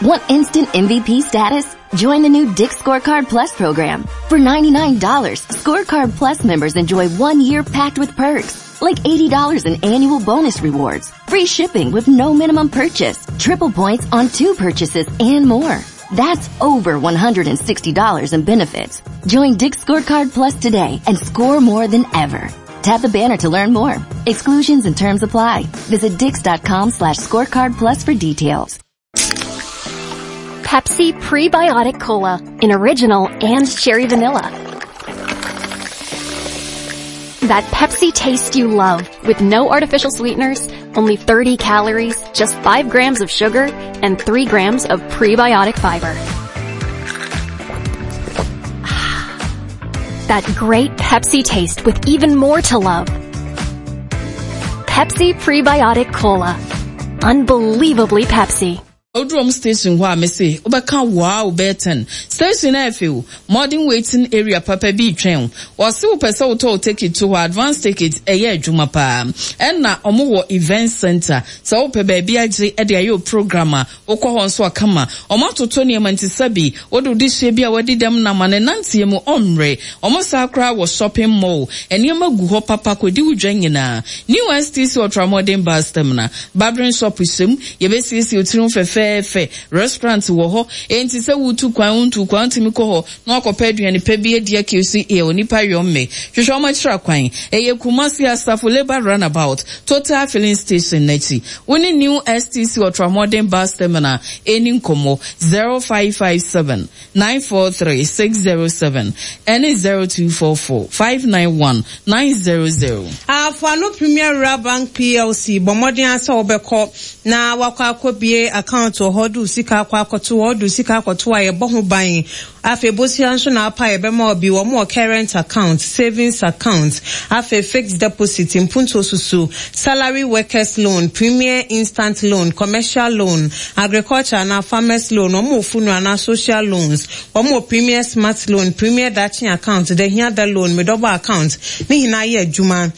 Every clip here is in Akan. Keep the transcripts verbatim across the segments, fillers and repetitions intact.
Want instant M V P status? Join the new Dick's Scorecard Plus program. For ninety-nine dollars, Scorecard Plus members enjoy one year packed with perks, like eighty dollars in annual bonus rewards, free shipping with no minimum purchase, triple points on two purchases, and more. That's over one hundred sixty dollars in benefits. Join Dick's Scorecard Plus today and score more than ever. Tap the banner to learn more. Exclusions and terms apply. Visit dicks dot com slash scorecard plus for details. Pepsi Prebiotic Cola in original and cherry vanilla. That Pepsi taste you love with no artificial sweeteners, only thirty calories, just five grams of sugar, and three grams of prebiotic fiber. That great Pepsi taste with even more to love. Pepsi Prebiotic Cola. Unbelievably Pepsi. Odrom station hɔ a mese wobɛka wow bɛyɛ station na ɛfɛ modern waiting area papa bi twɛn. Wɔse wopɛ sɛ wotɔ wo ticket to hɔ, advance ticket ɛyɛ adwuma paa. Ɛna ɔmo wɔ event center sɛ wopɛ baabi agye ɛde ayɛ o program a wokɔ hɔ nso akama. Ɔmo atoto nneɛma nti sɛbi wode wode hyia bi a wadi dɛm nam a ne nanteɛ mu ɔmmerɛ. Ɔmo saa koraa wɔ shopping mall, nneɛma gu hɔ papa kɔdi wo dwa nyinaa. New S T C Ultramodern bus terminal, barbering shop hyɛm, yɛbɛsiesie wo tirim fɛfɛɛfɛ. Restaurant wɔ hɔ, enti sɛ wotu kwan, wontu kwan, wotumi kɔ hɔ na wakɔpɛ aduane pɛ bi adi akɛsi yɛ onipa yɔmme. Hwehwɛ ɔmo akyerɛ kwan, ɛyɛ Kumasi Asafo Labour Roundabout, Total Filling Station n'akyi. Wo ne New S T C Ultramodern bus terminal ɛni nkɔmmɔ zero five five seven nine four three six zero seven ɛne zero two four four five nine one nine zero zero. Afoano Premier Rural Bank P L C, bɔ mmɔden asɛ wobɛkɔ na wakɔ akɔbie account wɔ hɔ de wo sika akɔ akɔto hɔ, de wo sika akɔto a yɛbɔ ho ban. Afei bosia nso na apa yɛbɛma obi. Wɔn wɔ current account, savings account, afei fixed deposit, mpuntuo susu, salary workers loan, premier instant loan, commercial loan, agriculture ana farmers loan. Wɔn wɔ funeral ana social loans. Wɔn wɔ premier smart loan, premier dachi account, the hiada loan, medɔbɔ account ne nyinaa yɛ adwuma.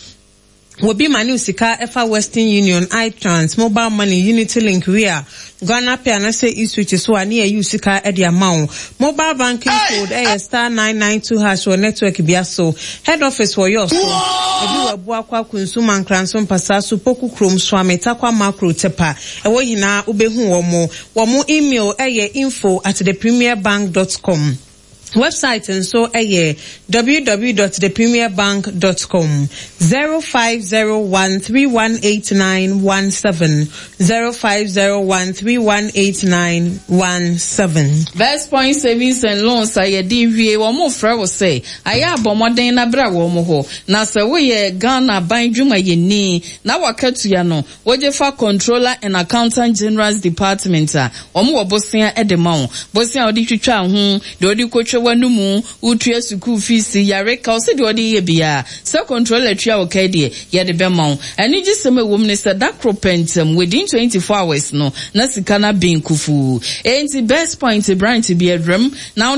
Wobi ma ne sika ɛfa Western Union, iTrans, mobile money, Unity Link, Ria, Ghana Pay anaasɛ eSwitch so a ne yɛyi sika ɛde ama wo. Mobile banking code ɛyɛ star nine nine two hash wɔ network bia so. Head office wɔ yɔ so, ebi wɔ Abuakwa, Kunsum, Ankranso, Mpasa so, Poku Kurom, Suame, Takwa, Makro, Tepa, ɛwɔ nyinaa wobɛhu wɔn. Wɔn email ɛyɛ info at the premier bank dot com. Website nso ɛyɛ w w w dot the premier bank dot com. zero five zero one three one eight nine one seven, zero five zero one three one eight nine one seven. Best Point Savings and Loans a yɛde wie, wɔn mo frɛ wo sɛ ayɛ abɔmmɔden na bra wɔn hɔ. Na sɛ woyɛ Ghana aban dwumayɛni na wakatua no wogye fa Controller and Accountant General's Department a, wɔn wɔ bosea de ma wo. Bosea a wɔde twitwa ho deɛ, wɔde kotwa w'anomu, wotua sukuu fees, yare ka ɔsɛ deɛ wɔde yɛ biara sɛ controller tua wo kae deɛ, yɛde bɛma wo. Anigye sɛm a ɛwɔ mu ne sɛ da koro pɛntɛm, within twenty four hours no na sika no abɛn kufuu. Enti Best Point branch bi adwam na